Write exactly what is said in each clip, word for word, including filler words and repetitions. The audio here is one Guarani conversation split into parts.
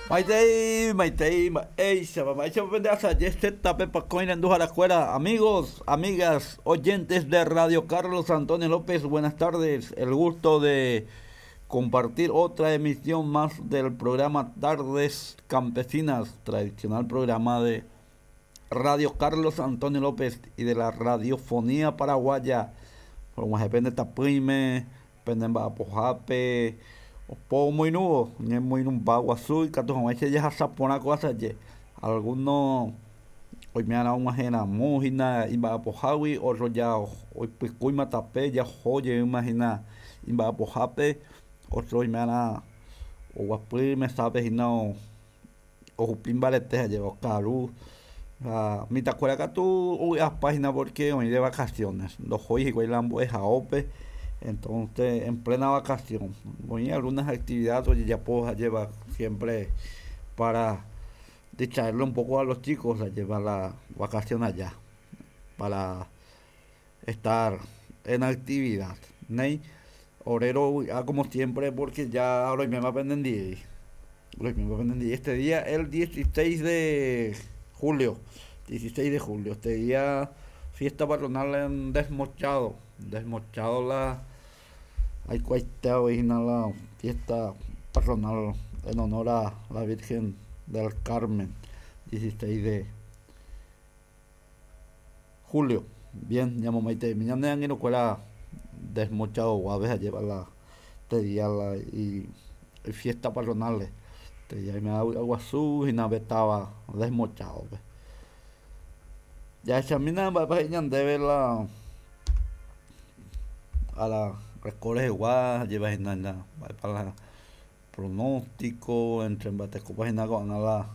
Maitei, maitei, mba'éichapa, mba'éichapa pende asaje zeta pe pakõi renduharakuéra, amigos, amigas, oyentes de Radio Carlos Antonio López, buenas tardes. El gusto de compartir otra emisión más del programa Tardes Campesinas, tradicional programa de Radio Carlos Antonio López y de la Radiofonía Paraguaya. Og̃uahẽ pende tapỹime, pende mba'apohápe, opo omoirũvo, ñemoirũmba guasu ikatu hag̃uáicha jahasa porã ko asaje. Alguno oime'arã og̃uahẽramo hína imba'apohágui, otro ja oipykúima tape, jaho jeýma hína imba'apohápe, otro oime'arã oguapy mesápe hína ohupi mbarete ha jeva okaru ha mitãkuéra katu ovy'apa hína porque oĩ de vacaciones, ndohói hikuái la mbo'ehaópe, entonces en plena vacación oĩ algunas actividades ojejapo ha jeva siempre para distraerlo un poco a los chicos, lleva la vacación allá para estar en actividad. Néi, ore rovy'a como siempre porque ya roiméma penendive. Roiméma penendive este día, el dieciséis de julio. dieciséis de julio, este día fiesta patronal en Desmochado. Desmochado la aikuaite hína la fiesta patronal en honor a la Virgen del Carmen, dieciséis de julio. Bien, ñamomaiteimi ñane angirũkuéra Desmochado guave ha lleva la este día la y, y fiesta patronal. Este día oime vy'aguasu hína pe táva Desmochado-pe. Jahechamína mba'épa he'i ñandéve la a la reko rehegua lleva hína mba'épa la pronóstico entre mba'etekópa hína ko'ág̃a la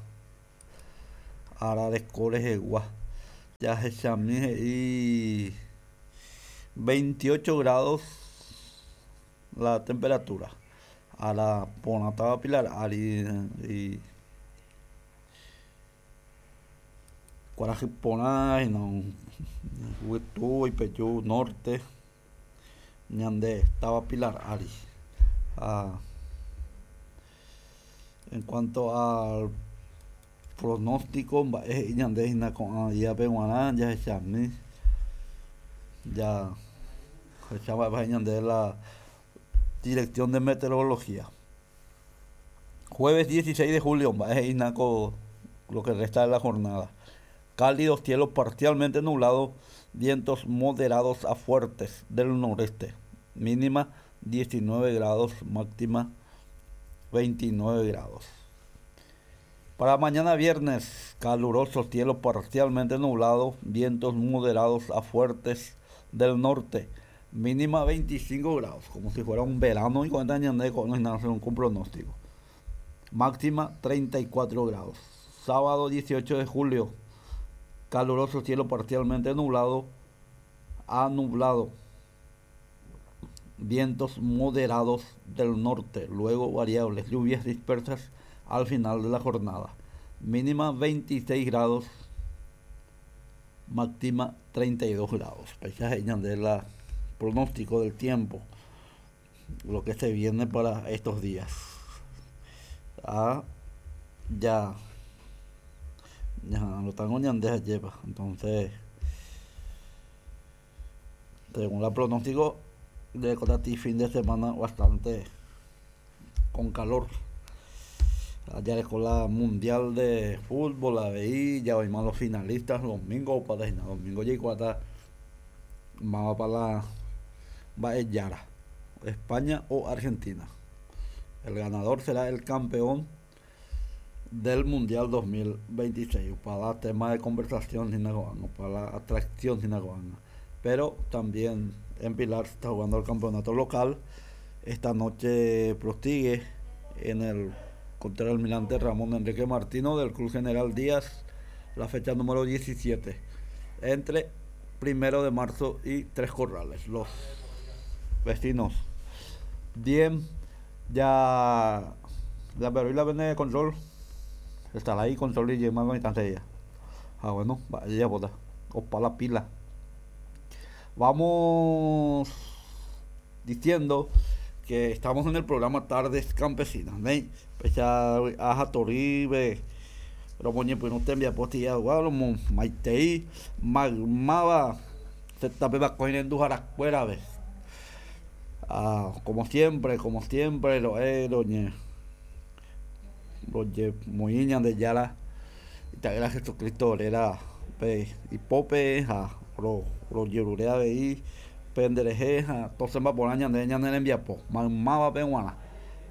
ára reko rehegua. Jahechami he'i veintiocho grados la temperatura. Ára porãtava Pilar ári y kuarahy porã hína yvytu oipeju norte ñande táva Pilar ári. Ha en cuanto al pronóstico mba'e he'i ñande hína ko'ã díape g̃uarã jahechami ja jahecha mba'épa he'i ñande la Dirección de Meteorología. Jueves dieciséis de julio, mba'e he'i hína ko lo que resta de la jornada. Cálido, cielo parcialmente nublado, vientos moderados a fuertes del noreste. Mínima diecinueve grados, máxima veintinueve grados. Para mañana viernes, caluroso, cielo parcialmente nublado, vientos moderados a fuertes del norte. Mínima veinticinco grados, como si fuera un verano y cuarenta años de no hay nada según un pronóstico. Máxima treinta y cuatro grados. Sábado dieciocho de julio, caluroso, cielo parcialmente nublado a nublado. Vientos moderados del norte, luego variables, lluvias dispersas al final de la jornada. Mínima veintiséis grados, máxima treinta y dos grados. Paisaje de la pronóstico del tiempo, lo que se viene para estos días. Ah, ya, ya lo tengo ñande lleva. Entonces, según la pronóstico de Cotati, fin de semana bastante con calor. Allá con la Mundial de Fútbol, la veí, ya vimos los finalistas domingo, para domingo ya vamos para la Yara, España o Argentina. El ganador será el campeón del Mundial dos mil veintiséis para tema de conversación para la atracción. Pero también en Pilar se está jugando el campeonato local. Esta noche prosigue en el contra el Almirante Ramón Enrique Martino del Club General Díaz, la fecha número diecisiete, entre Primero de Marzo y Tres Corrales, los vecinos. Bien, ya la pero la vende control, estará ahí control y llamando a. Ah, bueno, vaya bota, o para la pila. Vamos diciendo Que estamos en el programa Tardes Campesinas. Néi, péicha aja torýpe romoñepyrũ tembiapo tĩagua romomaitei maymáva tape pakõi renduharakuérape. Ah, como siempre, como siempre, ro'e roñe rojemoĩ Ñandejára Ita'ýra Jesucristo réra pe ipópe ha ro rojerure avei penderehe ha tosẽmba porã ñande ñane rembiapo maymávape g̃uarã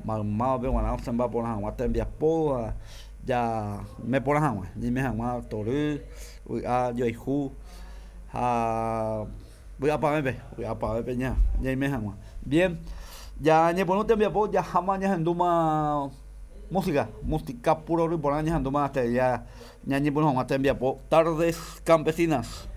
maymávape g̃uarã osẽmba porã hag̃ua tembiapo ha ja meporã hag̃ua ñaime hag̃ua tory vy'a joayhu ha vy'apavẽpe vy'apavẽpe ña ñaime hag̃ua. Bien, ya ñepyrũ tembiapo jaháma ñahendúma música, música puro porã ñahendúma hasta ya ñañepyrũ hag̃ua tembiapo Tardes Campesinas.